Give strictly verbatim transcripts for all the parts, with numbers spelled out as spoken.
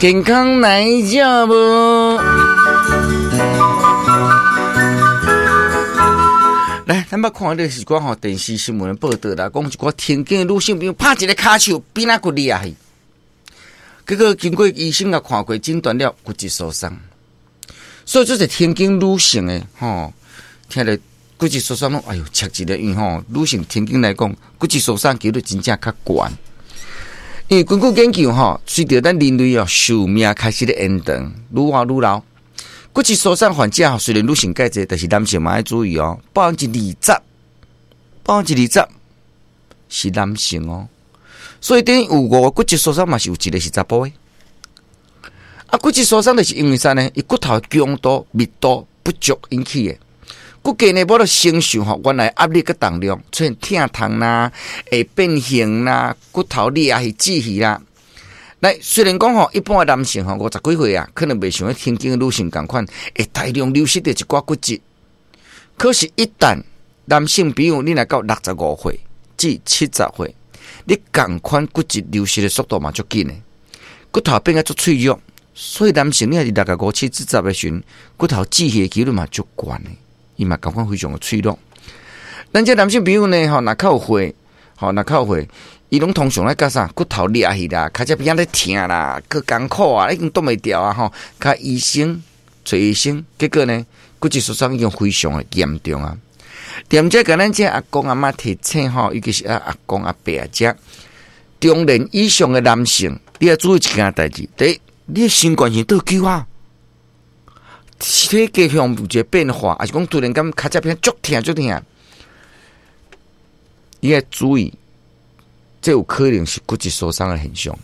健康來食無？來，咱捌看著是講吼電視新聞報導啦，講一寡天經女性朋友拍一个跤手，邊仔骨裂去，結果經過醫生共看過診斷了骨質疏鬆，所以這是天經女性的吼，聽著骨質疏鬆攏哎喲，赤一个，因為吼女性天經來講，骨質疏鬆幾率真正較懸。因為根據研究吼，隨著咱人類哦壽命開始咧延長，愈活愈老，骨質疏鬆患者雖然女性較濟，但是男性嘛愛注意哦，百分之二十，百分之二十是男性哦，所以等於有五個骨質疏鬆嘛是有一個是查埔的。啊，骨質疏鬆就是因為啥呢？伊骨頭強度、密度不足引起的。骨骼呢，無法承受吼原來壓力佮重量，出現疼痛啦，會變形啦，骨頭裂啊，去折去啦。來，雖然講吼，一般的男性吼五十幾歲啊，可能袂像彼天經的女性仝款，會大量流失著一寡骨質。可是，一旦男性朋友你若到六十五歲至七十歲，你仝款骨質流失的速度嘛足緊的，骨頭變甲足脆弱，所以男性你若是六十五、七十的時陣，骨頭折去的幾率嘛足懸的。伊嘛仝款非常的脆弱。咱這男性朋友呢，吼，若較有歲，吼，若較有歲，伊攏通常咧共啥骨頭裂去啦，跤脊邊仔咧疼啦，閣艱苦啊，已經擋袂牢啊，吼，較醫生揣醫生，結果呢，骨質疏鬆已經非常的嚴重啊。踮這共咱這阿公阿嬤提醒吼，尤其是阿阿公阿伯啊，這中年以上的男性，你愛注意一件代誌，第一，你的身懸是倒久啊？體格上有一個變化，抑是講突然間跤脊邊足疼足疼，你愛注意，這有可能是骨質疏鬆的現象。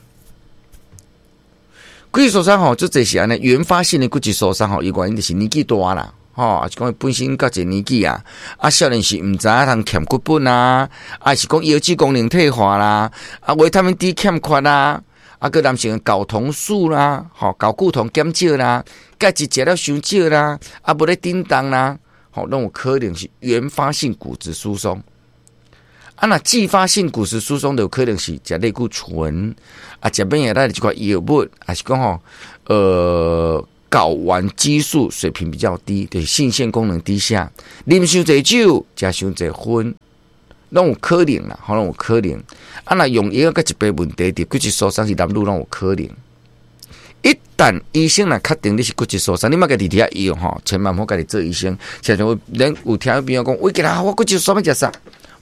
骨質疏鬆吼，足濟是按呢，原發性的骨質疏鬆吼，伊原因就是年紀大啦，吼，抑是講本身較濟年紀啊，啊，少年時毋知影通欠骨本啊，抑是講腰子功能退化啦，啊，維他命 D 欠缺啦。啊，閣男性睾酮素啦，吼，睾固酮減少啦，鈣質食了傷少啦，啊，無咧振動啦，吼，攏有可能是原發性骨質疏鬆。啊，若繼發性骨質疏鬆，就有可能是食類固醇，啊，食免疫力的一寡藥物，抑是講吼，呃，睾丸激素水平比較低，就是性腺功能低下，啉傷濟酒，食傷濟薰，攏有可能啦，吼，攏有可能。啊，若用藥佮一般問題，佇骨質疏鬆是男女攏有可能。一旦醫生若確定你是骨質疏鬆，你莫家己佇遐用吼，千萬毋好家己做醫生。像像咱有聽朋友講，喂，今仔我骨質疏鬆欲食啥？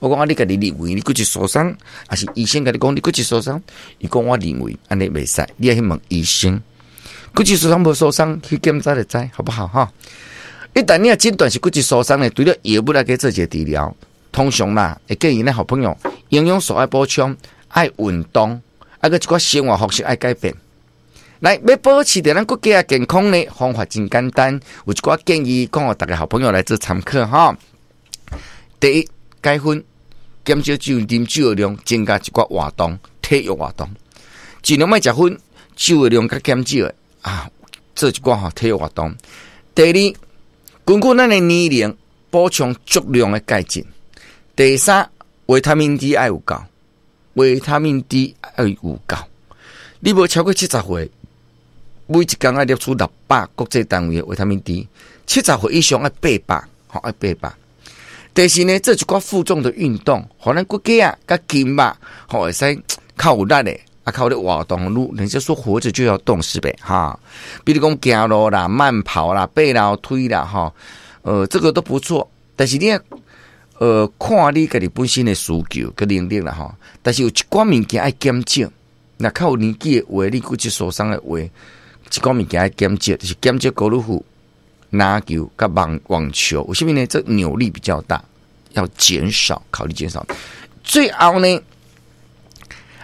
我講啊，你家己認為你骨質疏鬆，抑是醫生共你講你骨質疏鬆？伊講我認為按呢袂使，你愛去問醫生。骨質疏鬆無疏鬆，去檢查就知，好不好？哈！一旦你若診斷是骨質疏鬆呢，除了藥物來去做一個治療，通常啦，會建議咱好朋友營養素愛補充，愛運動，啊閣一寡生活方式愛改變。來，欲保持著咱骨骼健康呢，方法真簡單，有一寡建議，講予逐家好朋友來做參考哈。第一，戒煙，減少酒啉酒的量，增加一寡活動，體育活動，盡量莫食薰，酒的量較減少啊，做一寡吼體育活動。第二，根據咱的年齡，補充足量的鈣質。第三，維他命 D 愛有夠，維他命 D 愛有夠。你無超過七十歲，每一工愛攝取六百國際單位的維他命 D，七十歲以上愛八百，吼愛八百。第四呢，做一寡負重的運動，予咱骨骼啊、佮筋肉，吼會使較有力的，啊，較有咧活動。愈人家說活著就要動，是唄？哈，比如講行路啦、慢跑啦、爬樓梯啦，吼，呃，這個都不錯。但是你呃，看你家己本身的需求佮能力啦，吼。但是有一寡物件愛減少，若較有年紀的話，你骨質疏鬆的話，一寡物件愛減少，就是減少高爾夫、籃球佮網網球。為啥物呢？這扭力比較大，要減少，考慮減少。最後呢，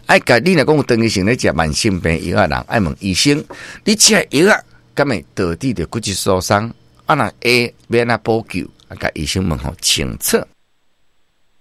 愛共你若講有長期性咧食慢性病藥的人，愛問醫生，你食藥仔，敢會導致著骨質疏鬆？啊，若會欲按怎補救？啊，共醫生問予清楚。